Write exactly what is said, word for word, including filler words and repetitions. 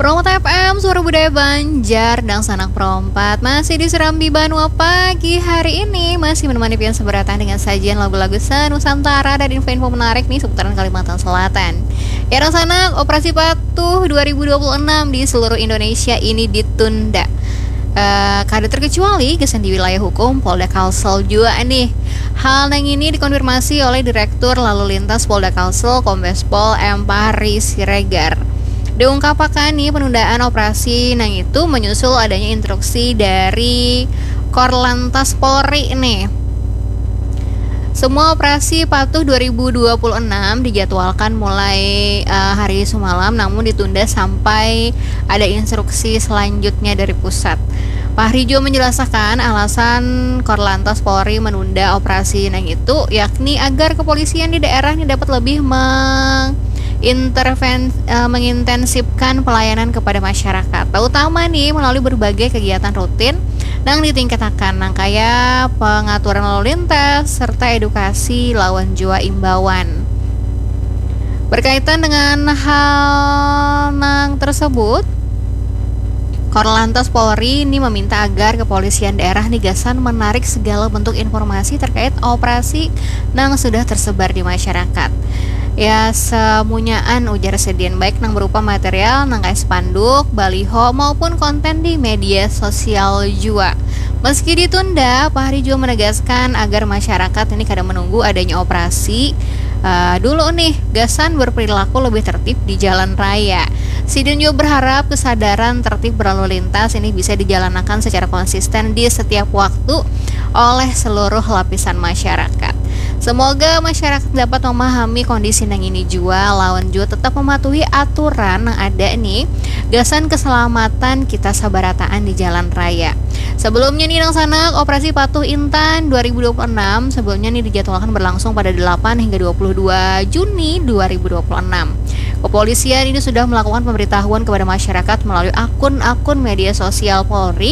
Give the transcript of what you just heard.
Pro Empat F M, suara budaya Banjar, dangsanak Pro Empat masih di Serambi Banua pagi hari ini, masih menemani pian sabarataan dengan sajian lagu-lagu senusantara dan info-info menarik nih seputaran Kalimantan Selatan. Ya, dangsanak, Operasi Patuh dua ribu dua puluh enam di seluruh Indonesia ini ditunda. Eh, kada terkecuali gasan di wilayah hukum Polda Kalsel jua nih. Hal nang ini dikonfirmasi oleh Direktur Lalu Lintas Polda Kalsel, Kombes Pol M Fahri Siregar. Diungkapakan nih, penundaan operasi nang itu menyusul adanya instruksi dari Korlantas Polri nih. Semua operasi Patuh dua ribu dua puluh enam dijadwalkan mulai, eh, hari sumalam, namun ditunda sampai ada instruksi selanjutnya dari pusat. Fahri juga menjelaskan alasan Korlantas Polri menunda operasi nang itu, yakni agar kepolisian di daerah ini dapat lebih menginterven-, eh, mengintensifkan pelayanan kepada masyarakat, terutama nih melalui berbagai kegiatan rutin nang ditingkatakan, nang kaya pengaturan lalu lintas serta edukasi lawan jua imbauan. Berkaitan dengan hal nang tersebut, Korlantas Polri ini meminta agar kepolisian daerah nih gasan menarik segala bentuk informasi terkait operasi nang sudah tersebar di masyarakat. Ya, semunyaan, ujar sidin, baik nang berupa material nang kaya spanduk, baliho, maupun konten di media sosial jua. Meski ditunda, Fahri juga menegaskan agar masyarakat ini kada menunggu adanya operasi, eh, dulu nih, gasan berperilaku lebih tertib di jalan raya. Sidin juga berharap kesadaran tertib berlalu lintas ini bisa dijalankan secara konsisten di setiap waktu oleh seluruh lapisan masyarakat. Semoga masyarakat dapat memahami kondisi nang ini jua, lawan jua tetap mematuhi aturan nang ada nih, gasan keselamatan kita sabarataan di jalan raya. Sebelumnya nih, dangsanak, Operasi Patuh Intan dua ribu dua puluh enam sebelumnya nih dijadwalkan berlangsung pada delapan hingga dua puluh dua Juni dua ribu dua puluh enam. Kepolisian ini sudah melakukan pemberitahuan kepada masyarakat melalui akun-akun media sosial Polri